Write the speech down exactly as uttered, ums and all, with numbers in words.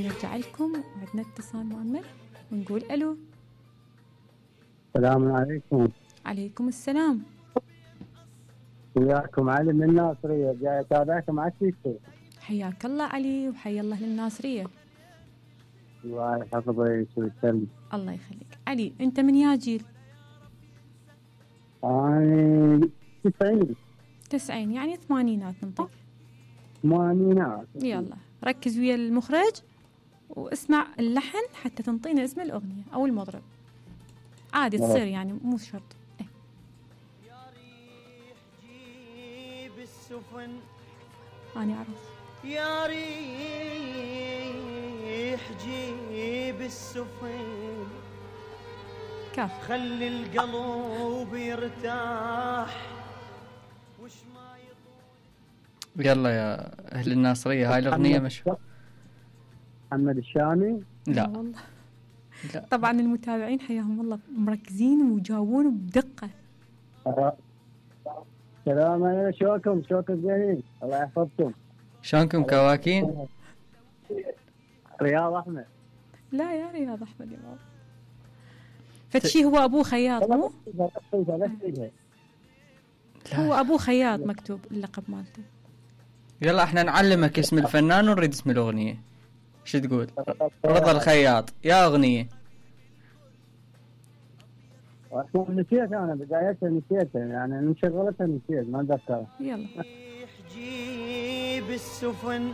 ونرجع لكم وعندنا اتصال مؤمل ونقول ألو. السلام عليكم. عليكم السلام. وياكم علي من الناصرية، جاي أتابعكم على التيك. حياك الله علي وحيا الله للناصرية. الله يحفظك ويسلمك. الله يخليك. علي أنت من يا جيل؟ أنا تسعين. تسعين يعني ثمانينات ننطق. ثمانينات. يلا ركز ويا المخرج واسمع اللحن حتى تنطينا اسم الأغنية أو المطرب. عادي تصير يعني مو شرط. إيه. يا ريح جيب السفن أنا أعرف. يا ريح جيب السفن كاف. خلي القلب يرتاح وش ما يطول. يلا يا أهل الناصرية، هاي الأغنية مشهورة. محمد الشامي. لا والله. لا. طبعا المتابعين حياهم الله مركزين ويجاوبون بدقة. سلام عليكم، شوكم شوكم زينين، الله يحفظكم. شلونكم كواكين؟ رياض أحمد. لا يا رياض أحمد يا بابا. فتشي هو أبوه خياط مو؟ هو أبوه خياط مكتوب اللقب مالته. يلا احنا نعلمك اسم الفنان ونريد اسم الأغنية. شو تقول؟ رضا الخياط يا أغنية. نسيت أنا بدايتها، نسيتها يعني نشغلتها نسيت ما أتذكر. يلا. جيب السفن